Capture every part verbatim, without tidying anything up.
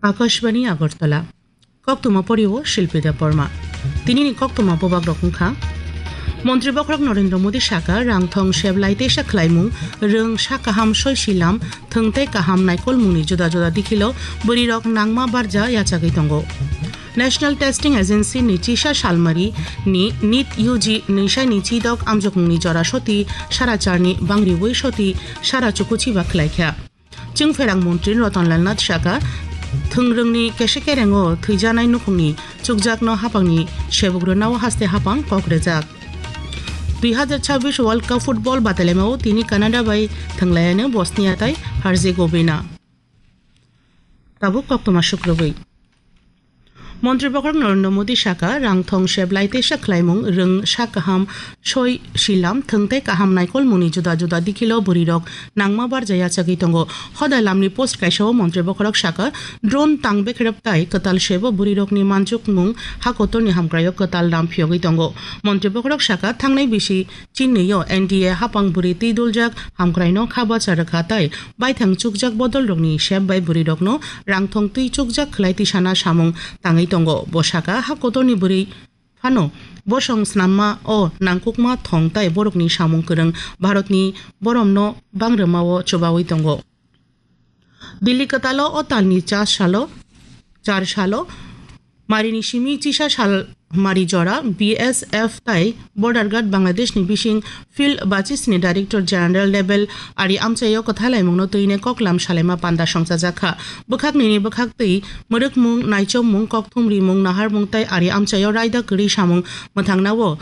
Akashbani Agartala. Koktwma porio Shilpi Debbarma. Tinini koktwma bubak rok wngkha. Montri bokhorok Narendra Modi saka rang thong seblai teisa khlaimung, rwng sa kaham soi silam, thwng tei kaham naikolmungni juda juda dikhilo bwrwirok nangma barja yachagwi tongo. National Testing Agency ni chisa salmari ni NEET U G nwisai ni chidok amjokmungni jora soti sara charni bangriwi soti sara chukuchiba khlaikha. Chwngpherang montri Ratan Lal Nath saka, thwngrwngni kese kerengo thwijanai nukhungni chukjakno hapangni sebuk rwnao haste hapang kok rejak. Dui hazar chabbish World Cup football batailaimao tini Canada bai thwnglaiano Bosnia tai Herzegovina. Tabuk koktwma sukrubwi. Montri bokhorok Narendra Modi saka rang thong seblai teisa khlaimung, rwng sa kaham soi silam, thwng tei kaham naikolmungni juda juda dikhilo bwrwirok nangma barja yachagwi tongo. Hoda lamni post kaisao montri bokhorok saka drone tang bekrep tai kwtal sebo bwrwirokni manjukmung hakotorni hamkraio kwtal ram phiyogwi tongo. Montri bokhorok saka thangnai bisi Chinwi-o N D A hapang bwrwi twi doljak hamkraino kha bacha rwkha tei baithang chukjak bodolrokni sep bai bwrwirokno rangthong twi chukjak khlai tisana samung tangwi tongo. Bo saka, ha kotorni bwrwi phano bosong snamma o nangkukma thong tei borokni samung kwrwng Bharatni boromno bangrwmao chubawi tongo. Delhi kwtalo o talni char salo, char salo, marini simi chisa sal mari jora B S F tai Border Guard Bangladeshni bising Field Bachis ni Director General level ari amchaio kwthalaimungno twine koklam salaima panda songchajakha. Bwkhak nini bwkhak twi mwrwkmung, naichomung, kokthum rimung, naharmung tai ari amchaio raida kwrwi samung mwthangnao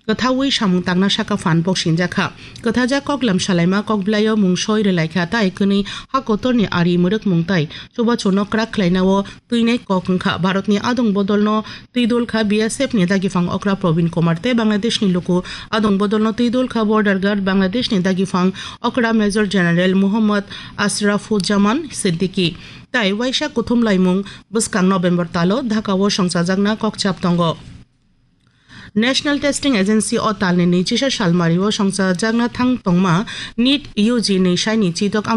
kwthaui samung tangna saka phan bok sinjakha. Kwthajak koklam salaima kokblaio mung soi rwlaikha tai kwnwi ha kotorni ari mwrwkmung tai chubachuno kwrak khlainao twinai kok wngkha. Bharatni adong bodolno twi dol kha B S F ni dagiphang okra Probin Kumar tei Bangladeshni luku adong bodolno twi dol kha Border Guard Bangladeshni dagiphang okra Major General Muhammad Ashrafuzzaman Siddiqui. Tai waisa kuthum laimung bwskang November talo Dhaka-o songchajakna kokchap tongo. National Testing Agency o talni nwichisa salmario songchajakna thang tongma NEET U G ni saini chidok